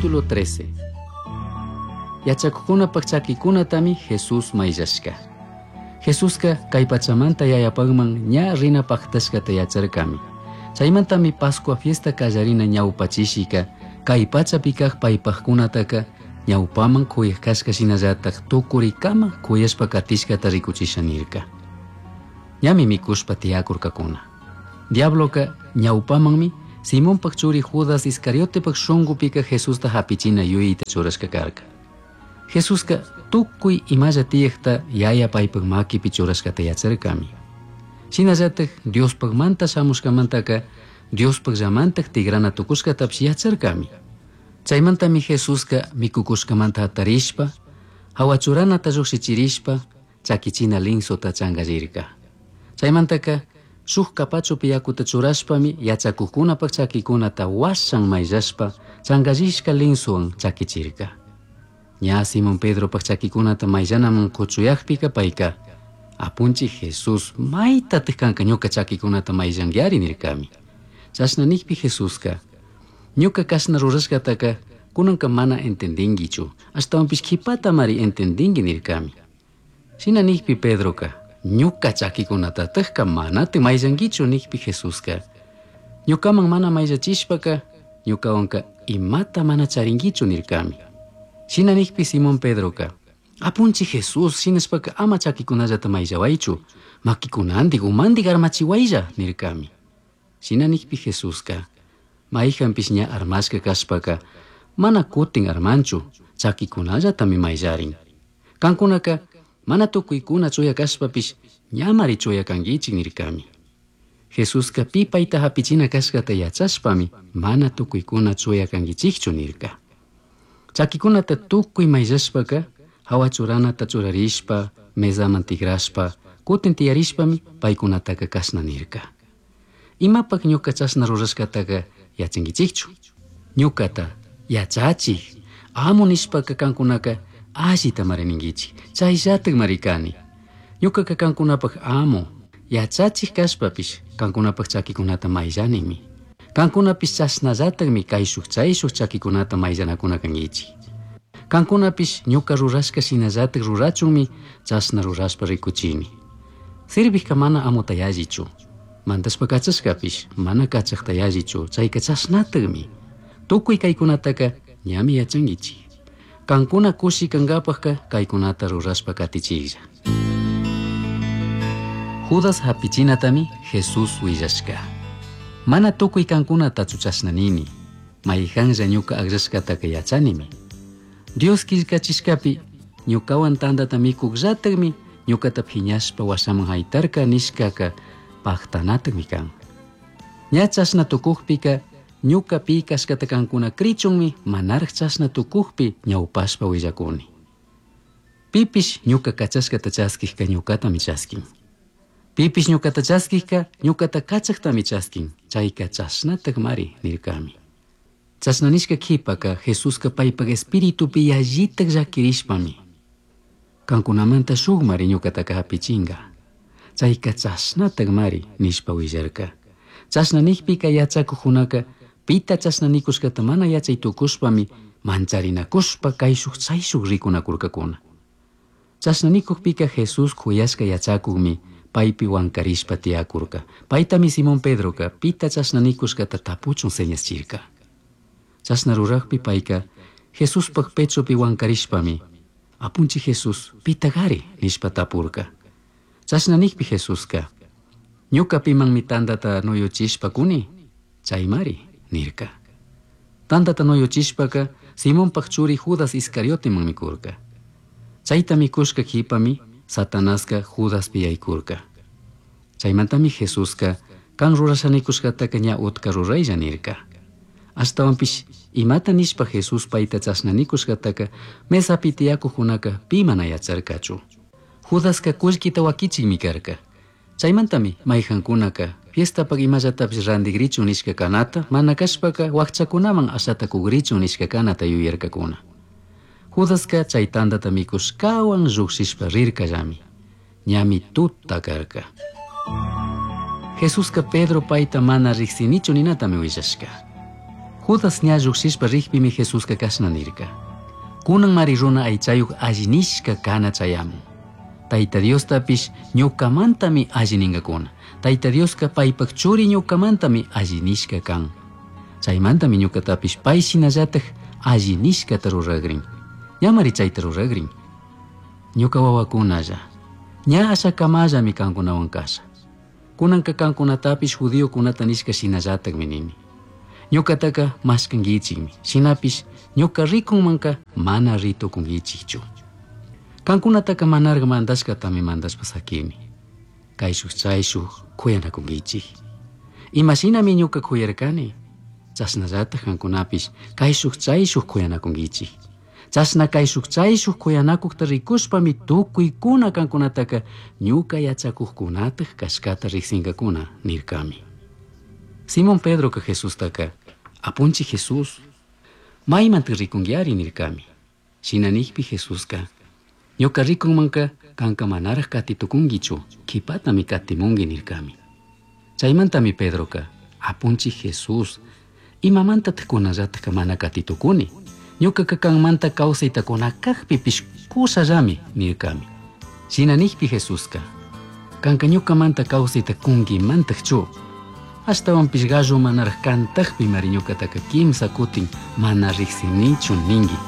Capítulo 13. Yachakuqkunapaq chakikunatami Jesús mayllashka. Jesusqa kay pachamanta yayapaqman ña rina paqtashkata yacharkami. Chaymantami Pascua fiesta qallarina ñawpachishika kay pachapi kaq paypaqkunataka ñawpaman kuyaq kashka shinallataq tukurikama kuyashpa katishkata rikuchisha nirka. Ñami mikushpa tiyakurkakuna. Diabloka ñawpamanmi Simonpaq churi Judas Iscariotepaq shunqupika Jesusta hapichina yuyayta churashka karka. Jesuska tukuy imalla tiyaqta yaya paypaq makipi churashkata yacharkami. Shinallataq Diospaqmanta shamushkamantaka Diospaqllamantaq tigrana tukushkatapish yacharkami. Chaymantami Jesuska mikukushkamanta hatarishpa, hawachuranata llukshichirishpa, chakichina linsota chankallirka. Chaymantaka shuk kapachupi yakuta churashpami yachakuqkunapaq chakikunata washan mayllashpa chankallishka linsowan chakichirka. Ña Simón Pedropaq chakikunata mayllanaman kuchuyaqpika payka Apunchik Jesús maytataq kanka ñuka chakikunata mayllankiari nirkami. Chashna nikpi Jesuska ñuka kashna rurashkataka kunanka mana entendinkichu ashtawanpish qhipatamari entendinki nirkami. Shina nikpi Pedroka ñuka chakikunatatakka manati mayllankichu nikpi Jesuska ñukaman mana mayllachishpaka ñukawanka imata mana charinkichu nirkami. Shina nikpi Simón Pedroka Apunchik Jesús shinashpaka ama chakikunallata mayllawaychu makikunantik umantik armachiwaylla nirkami. Shina nikpi Jesuska mayjanpish ña armashka kashpaka mana kutin armanchu chakikunallatami mayllarin. Kankunaka mana tukuykuna chuya kashpapish ñamari chuya kankichik nirkami. Jesuska pi payta hapichina kashkata yachashpami mana tukuykuna chuya kankichikchu nirka. Chakikunata tukuy mayllashpaka hawachuranata churarishpa mesaman tigrashpa kutin tiyarishpami paykunataka kashna nirka. Imapaq ñuka chashna rurashkataka yachankichikchu. Ñukata yachachik amo nishpaka kankunaka allitamari ninkichik chayllatakmari kani. Ñukaka kankunapaq amo yachachik kashpapish kankunapaq chakikunata mayllanimi. Kankunapish chashnallatakmi kayshuk chayshuk chakikunata mayllanakuna kankichik. Kankunapish ñuka rurashka shinallatak rurachunmi chashna rurashpa rikuchini. Sirvikka mana amuta yallichu. Mandashpa kachashkapish mana kachaqta yallichu chayka chashnatakmi. Tukuy kaykunataka ñami yachankichik. Kankuna kushi kankapaqka kaykunata rurashpa katichiklla. Judas hapichinatami Jesús willashka. Mana tukuy kankunatachu chashna nini. Mayjanlla ñuka akllashkataka yachanimi. Dios killkachishkapi ñukawan tantata mikuqllatakmi ñukata phiñashpa washaman haytarka nishkaka paqtanatakmi kan. Ña chashna tukuqpika ñuka pi kashkata kankuna krichunmi manaraq chashna tukuqpi ñawpashpa willakuni. Pipish ñuka kachashkata chaskikka ñukatami chaskin. Pipish ñukata chaskikka ñukata kachaqtami chaskin. Chayka chashnatakmari nirkami. Chashna nishka qhipaka Jesuska paypaq espiritupi yallitak llakirishpami kankunamanta shukmari ñukataka hapichinka. Chayka chashnatakmari nishpa willarka. Chashna nikpika yachakuqkunaka pita chashna nikushkata mana yachay tukushpami mancharinakushpa kayshuk chayshuk rikunakurkakuna. Chashna nikuqpika Jesús kuyashka yachakukmi paypi wankarishpa tiyakurka. Paytami Simón Pedroka pita chashna nikushkata tapuchun señaschirka. Chashna ruraqpi payka Jesuspaq pechopi wankarishpami Apunchik Jesús pitagari nishpa tapurka. Chashna nikpi Jesuska ñuka pimanmi tantata nuyuchishpa kuni chaymari nirka. Tantata nuyuchishpaka Simonpaq churi Judas Iscarioteman mikurka. Chayta mikushka qhipami Satanaska Judaspi yaykurka. Chaymantami Jesuska kan rurashanikushkataka ña utka ruraylla nirka. Ashtawanpish imata nishpa Jesús payta chashna nikushkataka mesapi tiyakuqkunaka pi mana yacharkachu. Judaska kullkita wakichikmi karka. Chaymantami mayjankunaka fiestapaq imallatapish rantikrichun nishka kanata mana kashpaka wakchakunaman ashata kugrichun nishka kanata yuyarkakuna. Judaska chay tantata mikushkawan lluqshishpa rirkallami. Ñami tuta karka. Jesuska Pedro payta mana riqsinichu ninatami willashka. Judas ña llujshishpa rijpimi Jesusca cashna nirca: Cunanmari runa aichayuj alli nishca cana chayamun. Taita Diostapish ñucamantami alli ningacuna. Taita Diosca paipaj churi ñucamantami alli nishca can. Chaimantami ñucatapish pai shinallataj alli nishcata ruragrin. Ñamari chaita ruragrin. Ñuca huahuacunalla, ña ashacamallami cancunahuan casha. Cunanca cancunatapish judiocunata nishca shinallatajmi nini. Ñucataca mashcanguichikmi, shinapish ñuca ricunmanca mana ri tucunguichikchu. Cancunataca manaraj mandashcatami mandashpa saquini. Caishuj chaishuj cuyanakunguichik. Imashinami ñuca cuyarcani, chashnallataj cancunapish caishuj chaishuj cuyanakunguichik. Chashna caishuj chaishuj cuyanacujta ricushpami tucuicuna cancunataca ñuca yachacujcunataj cashcata rijsingacuna nircami. Simón Pedroca Jesustaca, Apunchij Jesús, maimanta ricunguiari nircami. Shina nijpi Jesusca, ñuca ricunmanca canca manaraj cati tucunguichu, quipatami catimungui nircami. Chaimantami Pedroca, Apunchij Jesús, imamantataj cunallataj mana cati tucuni? Ñucaca canmanta causaita cunacajpipish cushallami nircami. Shina nijpi Jesusca, canca ñucamanta causaita cunguimantajchu? Ashtahuanpish gallo manaraj cantajpi mari ñucataca quimsa cutin mana rijsinichu ningui.